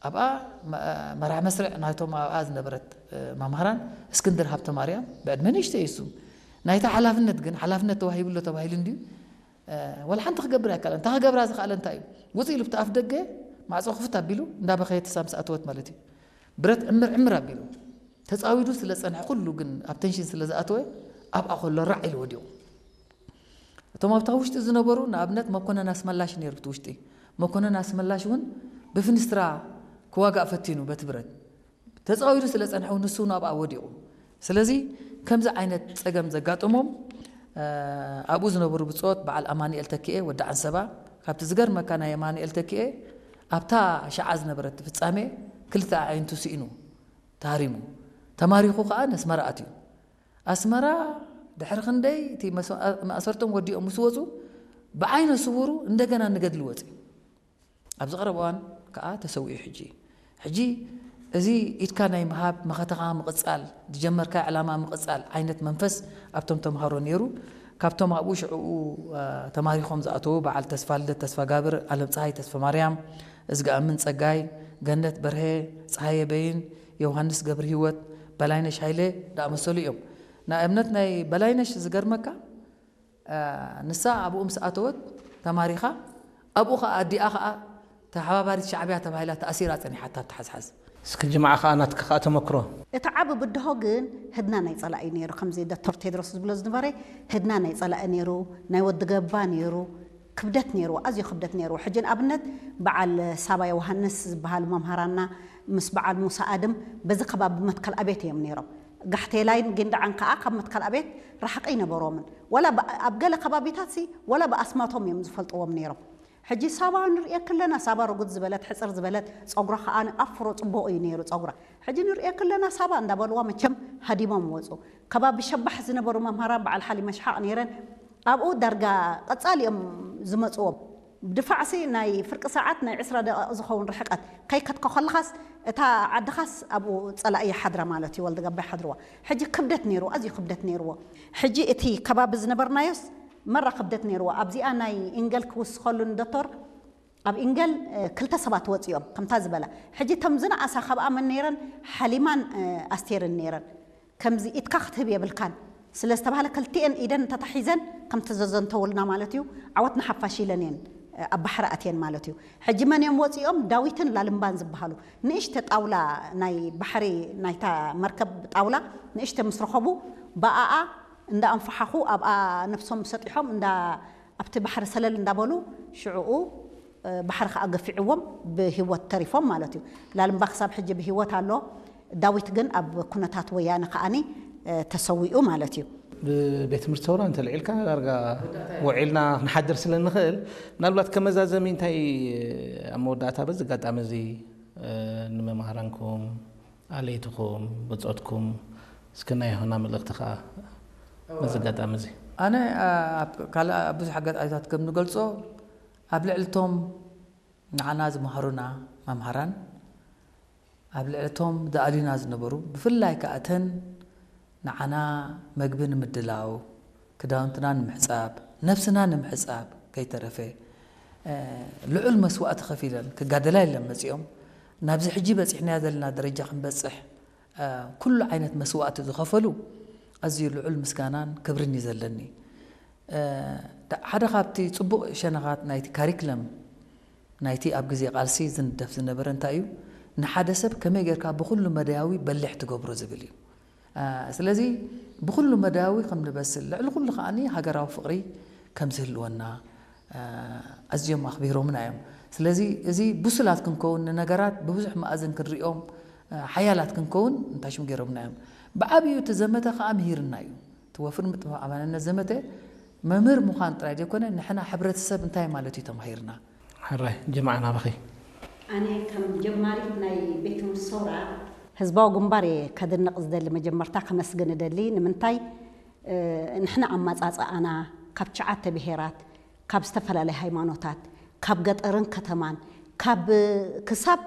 ኣብኣ መራሕ መስርዕ ናይቶም ኣብኣ ዝነበረት መምሃራን እስክንድር ሃብተማርያም ብዕድመ ንእሽተይ እሱ ናይታ ሓላፍነት ግን ሓላፍነት ተዋሂብሎ ተባሂሉ እንድዩ ወላ ሓንቲ ክገብር ኣይከኣለን። እንታ ክገብራ ዝኸኣለ እንታይ እዩ? ውፅእ ኢሉ ብቲ ኣፍ ደገ ማዕፆ ክፍት ኣቢሉ እንዳበኸየ ትሳ ምስ ኣተወት ማለት እዩ። ብረት ዕምር ዕምር ኣቢሉ ተፃዊዱ ስለ ዝፀንሐ ኩሉ ግን ኣብ ቴንሽን ስለ ዝኣተወ ኣብኣ ከሎ ራዕ ኢሉ ወዲቑ። እቶም ኣብታ ውሽጢ ዝነበሩ ንኣብነት መኮነን ኣስመላሽ ነይሩ እቲ ውሽጢ። መኮነን ኣስመላሽ እውን ብፍንስትራ ክዋጋእ ፈቲኑ በቲ ብረት ተፃዊዱ ስለ ዝፀንሐ እውን ንሱ እውን ኣብኣ ወዲቑ። ስለዚ ከምዚ ዓይነት ፀገም ዘጋጠሞም ኣብኡ ዝነበሩ ብፆት በዓል ኣማንኤል ተኪኤ ወዲ ዓንሰባ ካብቲ ዝገርመካ ናይ ኣማንኤል ተኪኤ ኣብታ ሸዓ ዝነበረት ፍጻሜ ክልተ ኣዒንቱ ስኢኑ ተሃሪሙ ተማሪኹ ከዓ ነስመራ ኣትዩ። ኣስመራ ድሕሪ ክንደይ እቲ ማእሰርቶም ወዲኦም ምስ ወፁ ብዓይነ ስውሩ እንደገና ንገድሊ ወፂ ኣብዚ ቀረብ እዋን ከዓ ተሰዊኡ ሕጂ ሕጂ እዚ ኢድካ ናይ ምሃብ መኸተኻ ምቕፃል ዝጀመርካ ዕላማ ምቕፃል ዓይነት መንፈስ ኣብቶም ተምሃሮ ነይሩ። ካብቶም ኣብኡ ሽዕኡ ተማሪኾም ዝኣተዉ በዓል ተስፋ ልደት ተስፋ ጋብር፣ ኣለም ፀሃይ ተስፋ ማርያም፣ እዝግኣምን ፀጋይ፣ ገነት በርሀ፣ ፀሃየ በይን፣ ዮውሃንስ ገብረ ህይወት፣ በላይነሽ ሃይለ ዝኣመሰሉ እዮም። ንኣብነት ናይ በላይነሽ ዝገርመካ ንሳ ኣብኡ ምስ ኣተወት ተማሪኻ ኣብኡ ኸዓ ኣዲኣ ኸዓ ተሓባባሪት ሻዕብያ ተባሂላ ተኣሲራ ፀኒሓታ ኣብ ተሓዝሓዝ። እስኪ ጅምዓ ኸዓ ናትኪ ኸዓ ተመክሮ። እቲ ዓቢ ብድሆ ግን ህድና ናይ ጸላኢ ነይሩ። ከምዚ ዶክተር ቴድሮስ ዝብሎ ዝነበረ ህድና ናይ ጸላኢ ነይሩ፣ ናይ ወዲ ገባ ነይሩ፣ ክብደት ነይርዎ፣ ኣዝዩ ክብደት ነይርዎ። ሕጂ ንኣብነት በዓል ሳባ ዮውሃንስ ዝበሃሉ መምሃራንና ምስ በዓል ሙሳ ኣድም በዚ ከባቢ መትከል ኣቤት እዮም ነይሮም። ጋሕቴላይን ጊንዳዕን ከኣ ካብ መትከል ኣቤት ራሕቂ ኣይነበሮምን። ወላ ኣብ ገለ ከባቢታት ሲ ወላ ብኣስማቶም እዮም ዝፈልጥዎም ነይሮም። ሕጂ ሳባ ንርእየኪ ኣለና፣ ሳባ ርጉድ ዝበለት፣ ሕጽር ዝበለት፣ ጸጉራ ከኣ ኣፍሮ ጽቡቕ እዩ ነይሩ ጸጉራ። ሕጂ ንርእየኪ ኣለና ሳባ እንዳበልዋ መቸም ሃዲሞም ወጹ። ከባቢ ሸባሕ ዝነበሩ መምሃራን በዓል ሓሊመ ሽሓቕ ነይረን ኣብኡ ዳርጋ ቀጻሊ እዮም ዝመጽዎም። ብድፋዕሲ ናይ ፍርቂ ሰዓት ናይ ዕስራ ደቂቕ ዝኸውን ርሕቀት ከይከድካ ከለኻስ እታ ዓድኻስ ኣብኡ ጸላኢ ይሓድራ ማለት እዩ፣ ወልደገባ ይሓድርዋ። ሕጂ ክብደት ነይርዎ፣ ኣዝዩ ክብደት ነይርዎ። ሕጂ እቲ ከባቢ ዝነበርናዮስ መራ ክብደት ነይርዎ። ኣብዚኣ ናይ ኢንገል ክውስኸሉ ንዶክተር ኣብ ኢንገል ክልተ ሰባት ወፂኦም ከምታ ዝበላ ሕጂ ተም ዝነኣሳ ካብኣ መን ነይረን ሓሊማን ኣስቴርን ነይረን ከምዚ ኢድካ ክትህብ የብልካን ስለ ዝተባህለ ክልቲኤን ኢደን እንተታሒዘን ከም ተዘዘንተውልና ማለት እዩ ዓወት ንሓፋሽ ኢለን እየን ኣብ ባሕሪ ኣትየን ማለት እዩ ሕጂ መን እዮም ወፂኦም ዳዊትን ላልምባን ዝበሃሉ ንእሽተ ጣውላ ናይ ባሕሪ ናይታ መርከብ ጣውላ ንእሽተ ምስ ረኸቡ ብኣኣ እንዳ ኣንፈሓኹ ኣብኣ ነብሶም ሰጢሖም እንዳ ኣብቲ ባሕሪ ሰለል እንዳበሉ ሽዕኡ ባሕሪ ከዓ ገፊዕዎም ብህይወት ተሪፎም ማለት እዩ። ላልምባ ክሳብ ሕጂ ብህይወት ኣሎ። ዳዊት ግን ኣብ ኩነታት ወያነ ከዓኒ ተሰዊኡ ማለት እዩ። ብቤት ትምህርቲ ሰውራ እንተልዒልካ ዳርጋ ውዒልና ክንሓድር ስለ እንኽእል ምናልባት ከመዛዘሚ እንታይ ኣብ መወዳእታ በዚ ኣጋጣሚ እዚ ንመምሃራንኩም ኣለይትኹም ብፆትኩም እስኪ ናይ ሆና መልእኽቲ ከዓ በዚ ኣጋጣሚ እዚ ኣነ ካልእ ብዙሕ ኣጋጣሚታት ከም ንገልፆ ኣብ ልዕልቶም ንዓና ዝመሃሩና መምሃራን ኣብ ልዕልቶም ዝኣልዩና ዝነበሩ ብፍላይ ከዓ እተን ንዓና መግቢ ንምድላው ክዳውንትና ንምሕፃብ ነብስና ንምሕፃብ ከይተረፈ ልዑል መስዋእቲ ከፊለን ክጋደላ የለን መፂኦም ናብዚ ሕጂ በፂሕናዮ ዘለና ደረጃ ክንበፅሕ ኩሉ ዓይነት መስዋእቲ ዝኸፈሉ ኣዝዩ ልዑል ምስጋናን ክብርን እዩ ዘለኒ። ሓደ ካብቲ ፅቡቕ ሸነኻት ናይቲ ካሪክለም ናይቲ ኣብ ግዜ ቃልሲ ዝንደፍ ዝነበረ እንታይ እዩ ንሓደ ሰብ ከመይ ጌርካ ብኩሉ መዳያዊ በሊሕ ትገብሮ ዝብል እዩ። ስለዚ ብኩሉ መዳያዊ ከም ንበስል ልዕሊ ኩሉ ከዓኒ ሃገራዊ ፍቕሪ ከም ዝህልወና ኣዝዮም ኣኽቢሮምና እዮም። ስለዚ እዚ ብሱላት ክንከውን ንነገራት ብብዙሕ መኣዝን ክንሪኦም ሓያላት ክንከውን እንታይ ሽም ገይሮምና እዮም። ብዓብዩ እቲ ዘመተ ከዓ ምሂርና እዩ። እቲ ወፍሪ ምጥፋእ ኣማንነት ዘመተ መምህር ምዃን ጥራይ ዘይኮነ ንሕና ሕብረተሰብ እንታይ ማለት እዩ ተማሂርና። ሕራይ ጅምዓ ናባኺ። ኣነ ከም ጀማሪት ናይ ቤት ትምህርቲ ሰውራ ህዝባዊ ግንባር እየ ከድንቕ ዝደሊ መጀመርታ ከመስግን እደሊ ንምንታይ ንሕና ኣማፃፅኣና ካብ ትሽዓተ ብሄራት ካብ ዝተፈላለየ ሃይማኖታት ካብ ገጠርን ከተማን ካብ ክሳብ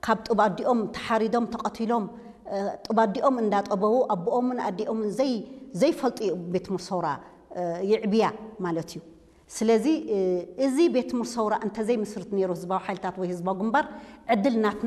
ካብ ጡብ ኣዲኦም ተሓሪዶም ተቐቲሎም ጡብ ኣዲኦም እንዳጠበዉ ኣቦኦምን ኣዲኦምን ዘይ ዘይፈልጡ እዩ ቤት ትምህርቲ ሰውራ ይዕብያ ማለት እዩ። ስለዚ እዚ ቤት ትምህርቲ ሰውራ እንተዘይ ምስርት ነይሩ ህዝባዊ ሓይልታት ወይ ህዝባዊ ግንባር ዕድል ናት